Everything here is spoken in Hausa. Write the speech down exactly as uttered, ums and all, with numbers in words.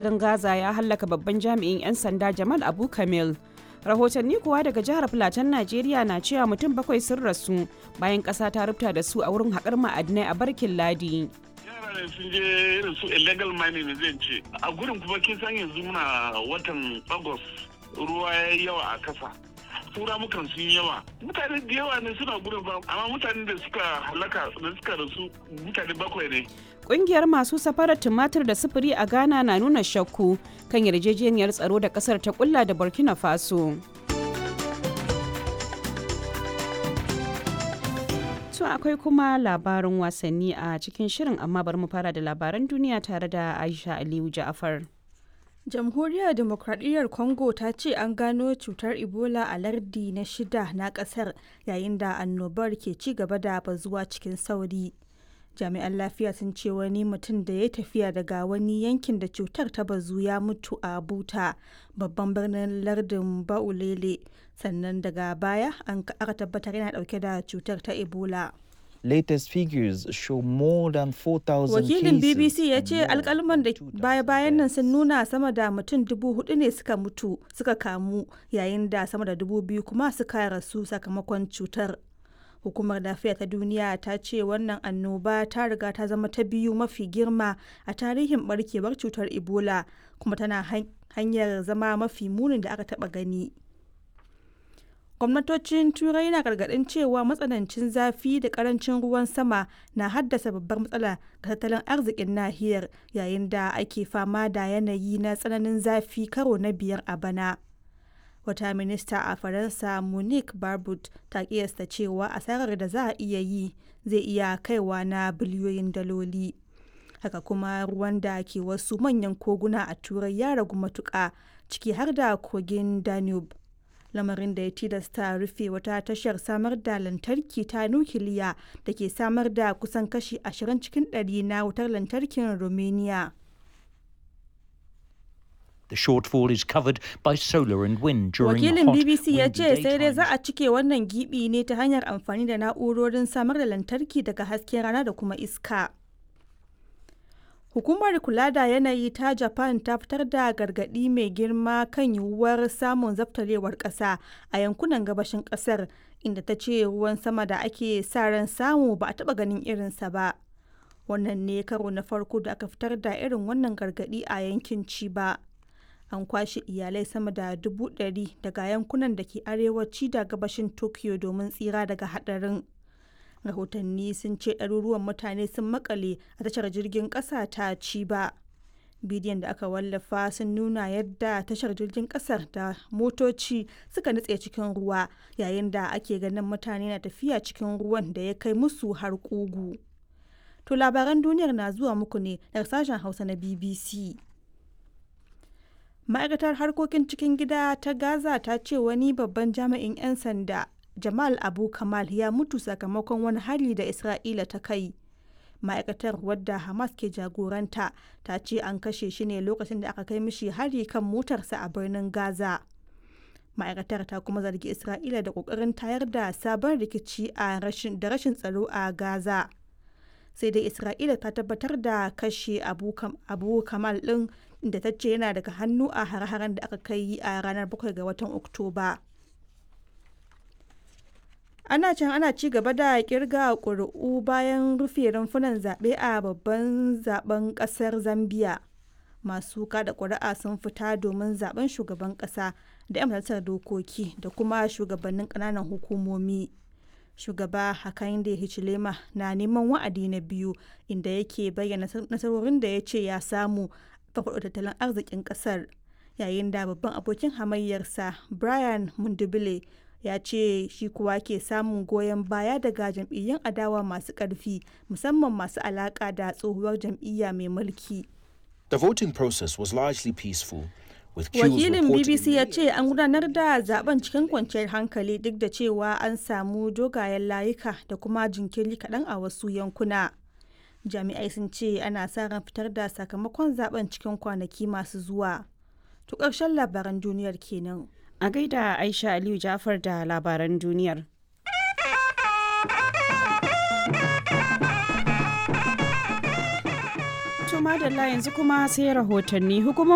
Garin Gaza ya hallaka babban jami'in 'yan sanda Jamal Abu Kamil. Rahotanni kuwa daga jihar Filatan Najeriya na cewa mutum bakwai sun rasu bayan ƙasa ta rubuta da su a wurin haƙar ma'adinai a Barkin Ladi. Yara ne sun je irin su illegal mining ne zan ce. A gurin kuma kin san yanzu muna watan August, ruwa ya yi yawa a kasa. Tura mukan sun yawa. Mutane da yawa ne suna gurin ba, amma mutanen da suka halaka da suka rasu mutane bakwai ne. Ƙungiyar masu safarar tumatir da sufuri a Ghana na nuna shakku kan yarjejeniyar tsaro da ƙasar ta kulla da Burkina Faso. To akwai kuma labarin wasanni a cikin shirin, amma bari mu fara da labaran duniya tare da Aisha Aliyu Ja'afar. Jamhuriyar Demokradiyyar Congo ta ce an gano cutar Ebola a lardi na shida na kasar yayin da annobar ke ci gaba da bazuwa cikin sauri. Jami'an lafiya sun ce wani mutum da ya tafiya daga wani yankin da cutar ta bazu ya mutu a Buta, babban birnin lardin Baulele, sannan daga baya an aka tabbatar yana dauke da cutar ta Ebola. Latest figures show more than four thousand Wakilin cases B B C ya and ce more than alkalman da two thousand baya-bayan nan sun deaths. nuna sama da mutum dubu hudu ne suka mutu suka kamu, yayin da sama da dubu biyu kuma suka rasu sakamakon cutar. Hukumar Lafiya ta Duniya ta ce wannan annoba ta riga ta zama ta biyu mafi girma a tarihin barkewar cutar Ebola, kuma tana hanyar zama mafi munin da aka taba gani. Gwamnatocin Turai na gargaɗin cewa matsanancin zafi da karancin ruwan sama na haddasa babbar matsala ga tattalin arzikin nahiyar, yayin da ake fama da yanayi na tsananin zafi karo na biyar a bana. Wata minista a Faransa, Monique Barbut, ta kiyasta cewa asarar da za a iya yi zai iya kaiwa na biliyoyin daloli. Haka kuma ruwan da ke wasu manyan koguna a Turai ya ragu matuƙa, ciki har da kogin Danube, lamarin da ya tilasta rufe wata tashar samar da lantarki ta nukiliya da ke samar da kusan kashi ashirin cikin ɗari na wutar lantarkin Romania. The shortfall is covered by solar and wind during Wakilin hot, B B C ya windy ce sai dai za daytimes. a cike wannan gibi ne ta hanyar amfani da na'urorin samar da lantarki daga hasken rana da kuma iska. Hukumar kula da yanayi ta Japan ta fitar da gargaɗi mai girma kan yiwuwar samun zaftarewar ƙasa a yankunan gabashin ƙasar, inda ta ce ruwan sama da ake sa ran samu ba a taɓa ganin irinsa ba. Wannan ne karo na farko da aka fitar da irin wannan gargaɗi a yankin Chiba. An kwashe iyalai sama da dubu ɗari daga yankunan da ke arewaci da gabashin Tokyo domin tsira daga haɗarin. Rahotanni sun ce ɗaruruwan mutane sun makale a tashar jirgin ƙasa ta Chiba. Bidiyon da aka wallafa sun nuna yadda tashar jirgin ƙasar da motoci suka nutse cikin ruwa, yayin da ake ganin mutane na tafiya cikin ruwan da ya kai musu har ƙugu. To labaran duniyar na zuwa muku ne daga sashen Hausa na B B C. Ma'aikatar harkokin cikin gida ta Gaza ta ce wani babban jami'in 'yan sanda, Jamal Abu Kamal, ya mutu sakamakon wani hari da Isra'ila ta kai. Ma'aikatar, wadda Hamas ke jagoranta, ta ce an kashe shi ne lokacin da aka kai mishi hari kan motarsa a birnin Gaza. Ma'aikatar ta kuma zargi Isra'ila da kokarin tayar da sabon rikici a rashin da rashin tsaro a Gaza. Sai dai Isra'ila ta tabbatar da kashe abu, Kam- abu Kamal din, da ta ce yana daga hannu a hare-haren da aka kai a ranar bakwai ga watan Oktoba. Ana can ana ci gaba da kirga ƙuri'u bayan rufe rumfunan zaɓe a babban zaben ƙasar Zambia. Masu kada ƙuri'a sun fita domin zaben shugaban ƙasa da 'yan majalisar dokoki da kuma shugabannin ƙananan hukumomi. Shugaba Hakainde Hichilema na neman wa'adi na biyu, inda yake bayyana nasarorin da ya ce ya samu farfaɗo tattalin arzikin ƙasar, yayin da babban abokin hamayyarsa Brian Mundubile ya ce shi kuwa ke samun goyon baya daga jam'iyyun adawa masu ƙarfi, musamman masu alaƙa da tsohuwar jam'iyya mai mulki. The voting process was largely peaceful, with queues Wakilin reported in B B C ya many ce an gudanar da zaben cikin kwanciyar hankali, duk da cewa an samu dogayen layuka da kuma jinkiri kaɗan a wasu yankuna. Jami'ai sun ce ana sa ran fitar da sakamakon zaben cikin kwanaki masu zuwa. To ƙarshen labaran duniyar kenan. A gaida Aisha Aliyu Ja'afar da labaran duniyar. To madalla, yanzu kuma sai rahotanni. Hukumomin